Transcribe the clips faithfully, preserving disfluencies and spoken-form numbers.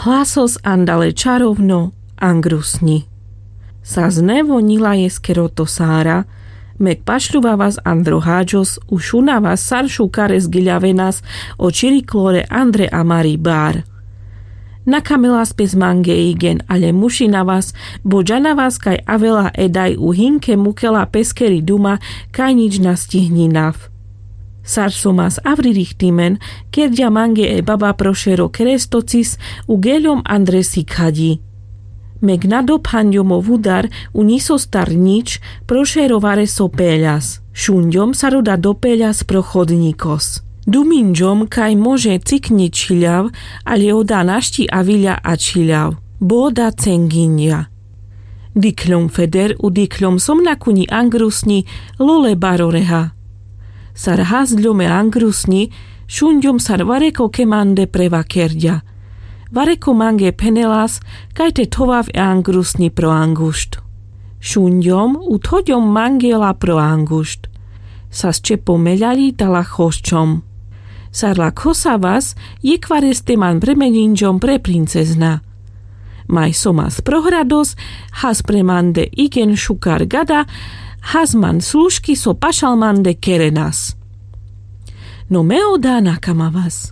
Hlasos andale čarovno angrusňi. Sas nevo ňilajes keroto sára, mek pašľuvavas andro háďos, u šunavas sar šukares giľavenas o čiriklore andre amari bar. Nakamelas pes mange igen, ale mušinavas, bo džanavas kaj avela edaj u hinke mukela peskeri duma, kaj nič na stihninav. Sar so mas avri richtimen, kerďa mange e baba pro šero kerestocis u geľom andre sikaďi. Mek na dophanďom o vudar u ňisostar nič, pro šero vareso peľas. Šunďom sar oda dopeľas pro chodňikos. Duminďom kaj može cikňi čhiľav, ale oda našti aviľa a čhiľav. Bo oda cenginďa. Dikhľom feder u dikhľom som na kuňi angrusňi, lole baroreha. Sar hasďom e angrusňi, šunďom sar vareko kemande prevakerďa. Vareko mange phenelas, kaj te thovav e angrusňi pro angušt. Šunďom u thoďom mange la pro angušt. Sas čepo meľaľitala chosďom. Sar la khosavas, jekhvareste man premeňinďom pre princezna. Maj so mas prohrados, has pre mande igen šukar gada, has man služky so pašal mande kerenas. No me oda nakamavas.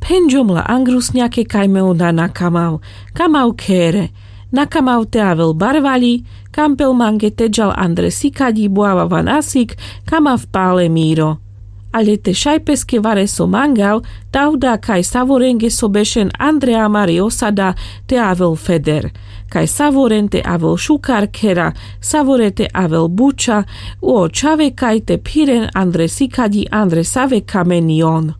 Phenďom la angrusňake kaj me oda nakamav, kamav khere, nakamav te avel barvaľi, kampel mange te džal andre sikaďi bo avav na sik, kamav pale miro. Ale te šaj peske vareso mangav, ta oda kaj savorenge so bešen andre amari osada te avel feder. Kaj savoren te avel šukar khera, savore te avel buča, u o čhave kaj te phiren andre sikaďi andre save kamen jon.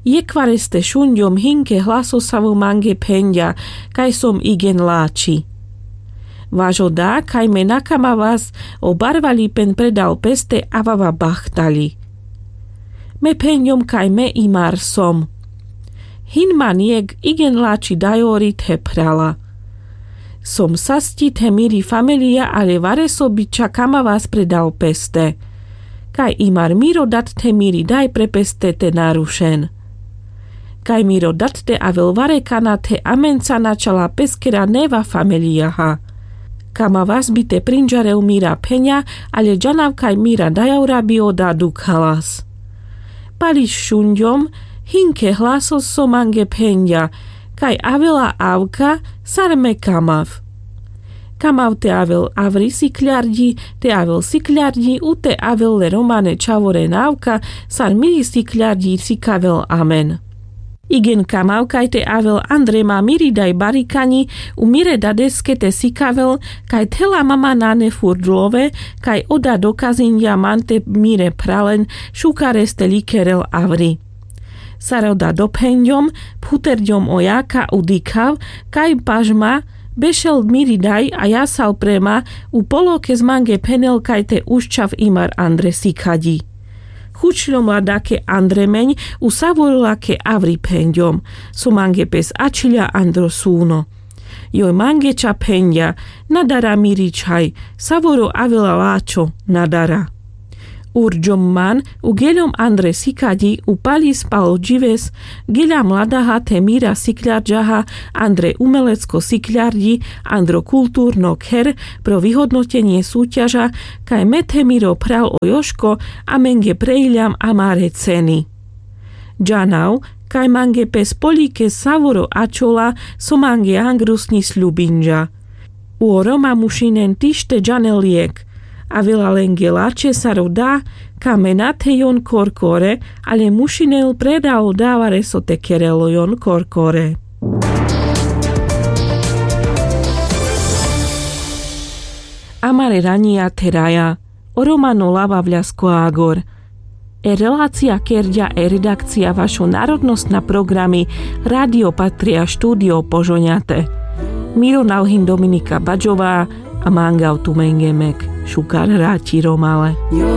Jekhvareste šunďom hinke hlasosavo mange phenďa, kaj som igen lačhi. Vaš oda kaj me nakamavas o barvaľipen predal peste avava bachtaľi. Me phenďom kaj me imar som. Hin man jekh igen lačhi dajori the phrala. Som sasťi the miri familija, ale vareso biča kamavas predal peste. Kaj imar miro dat the miri daj pre peste te narušen. Kaj miro dat te avel varekana the amenca na čala peskera neva familijaha. Kamavas bi te prinďarel mira pheňa, ale džanav kaj mira dajora bi oda dukhalas. Pališ šunďom, hinke hlasos so mange phenďa, kaj avela avka, sar me kamav. Kamav te avel avri sikľarďi, te avel sikľarďi, u te avel le romane čhavoren avka, sar miri sikľarďi sikavel amen. Igen kamav kaj te avel andre ma miri daj barikaňi, u mire dadeske te sikavel, kaj thela mama nane furt love, kaj oda dokazinďa man te mire phralen, šukareste likerel avri. Sar oda dophenďom, phuterďom o jaka u dikhav, kaj paš ma, bešel miri daj a jasal pre ma, u polokes mange phenel kaj te uščav imar andre sikaďi. Chučľom la dake andre meň, u savorlake avri phenďom, so mange pes ačhiľa andro súno. Joj mange ča phenďa, na dara miri čhaj, savoro avela lačho, na dara. Urďom man, u geľom andre sikaďi, u palis pal džives, geľa mladaha the mira sikľarďaha, andre umelecko sikľarďi, andro kulturno kher, pro vyhodnotenie súťaža, kaj me the miro phral o joško, amenge preiľam amare ceny. Džanav, kaj mange pes poľike savoro ačhola, so mange angrusňi sľubinďa. U o roma mušinen tište džanel jekh. Avela lenge lačhe sar oda, ka me na the jon korkore, ale mušinel predal davare so te kerelo jon korkore. Amare raňija theraja, o romano lava vľasko agor. E relacija kerďa e redakcija vašo narodnosna programi Radio Patria, štúdio Požoňate. Miro nalhin Dominika Baďová a mangav tumenge mek šukar raťi romale.